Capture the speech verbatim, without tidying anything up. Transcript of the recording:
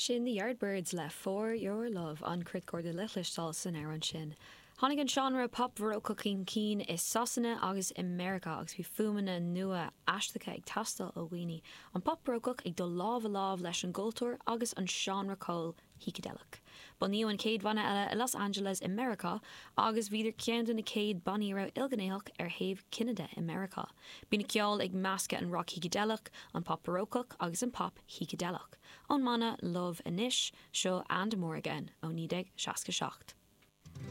Sin the Yardbirds le For Your Love an criothchorda le cloisteáil san amhrán sin. Tháinig an seánra pop barócach chun cinn i Sasana agus i Meiriceá agus bhí fuaimeanna nua aisteacha ag teastáil ó dhaoine. An pop barócach ag dul lámh i lámh leis an gcultúr agus an seánra ceoil shícideileach. Bunaíodh an chéad bhanna eile i Los Angeles i Meiriceá agus bhíodar ceann de na chéad bannaí a raibh ilghnéitheach ar thaobh cine de i Meiriceá. Bíonn ceol ag meascadh an rock shícideileach, an pop barócach agus an pop shícideileach. Ón mbanna Love anois seo and more again ó naoi déag seasca seacht.